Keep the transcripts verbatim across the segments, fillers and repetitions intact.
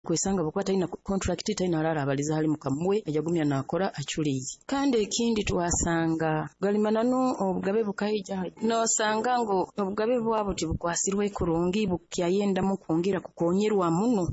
Kwesanga bwokuba talina contract, talina harara abaliza hali mukamuwe, ajagumya nakora aculiire. Kandi ekindi, twasanga gali mananu obugabe bukaija, nosanga ngu obugabe bwabo tibukwasirwe kurungi, bukyayendamu kwongera kukonyerwa muno,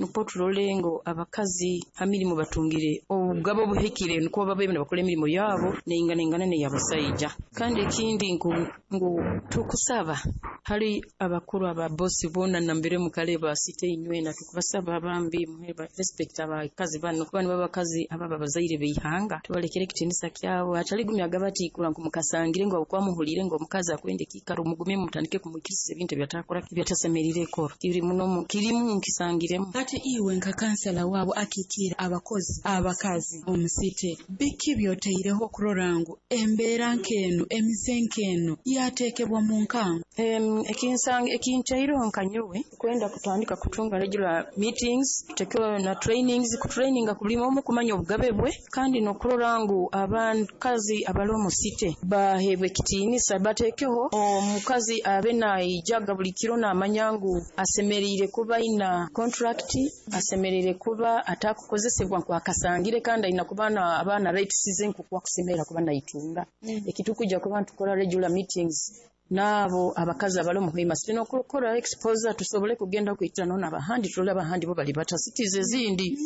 nukwo turole ngu abakazi ha mirimo batungire obugabe obuhikire, nukwo babe nibakora emirimo yabo neinganaingana n'eyabasaija. Kandi ekindi ngu, ngu tukusaba hali abakuru, aba bosi boona nambere mukale ba city inywena, tukubasaba bambi muhe respect abakazi bano, kuba nibo abakazi ababa bazaire b'ihanga. Tubalekere ekitiinisa kyabo, hatali gumya gabati kura ngu mukasangire ngu habwokuba muhuliire ngu omukazi akwenda ekiikaro, mugume mutandike kumwikiriza ebintu ebyatakora, ebyatasemeriire kora. Kiri muno, kirimu, nkisangiremu. Ati iwe nka kansala waabo akikiira abakozi abakazi omu city, biki byoteireho okurora ngu embeera nk'enu, emize nk'enu yateekebwa mu nkango? Em, ekinsanga ekintaireho nka nyowe kwenda kutandika kutunga regular meetings, tutekeho na trainings, kutraininga buli omu kumanya obugabe bwe, kandi n'okurora ngu abakazi abali omu city baheebwa ekitiinisa. Bateekeho omukazi abe naijaga buli kiro namanya ngu asemeriire kuba aina contract, asemeriire kuba atakukozesebwa nkwakasangire, kandi aina kuba na abaana rights ze nkuko akusemerera kuba naitunga. Ekitukujja kuba ntukora regular meetings n'abo abakazi abali omu Hoima City n'okukora exposure, tusobole kugenda kwitana n'abahandi, turole abahandi bo bali bata cities ezindi.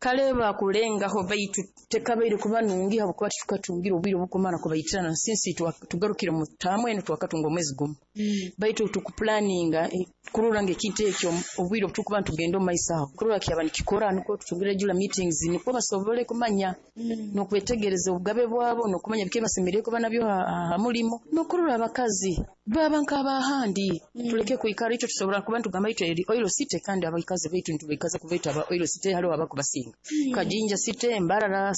Kale bakulengaho, baitu tekabaire kuba nungi habwokuba titukatungire obwire obukumara kubaitirana since tugarukire mu taamu enu, twakatunga omwezi gumu, baitu tukupulaninga eh, kurora nga ekintu ekyo obwire obutukuba ntugenda omu maiso aho kurora kyaba nikikora, nukwo tutungire regular meetings, nukwo basobole kumanya n'okwetegereza obugabe bwabo n'okumanya biki basemeriire kuba nabyo ha, ha mulimo, n'okurora abakazi baba nk'abahandi. Tuleke kwikara itwe tusobora kuba ntugamba itwe eri oil city, kandi abakazi baitu nitubaikaza kubaita aba oil city, haliho abakubasinga Kajinja City, Mbarara.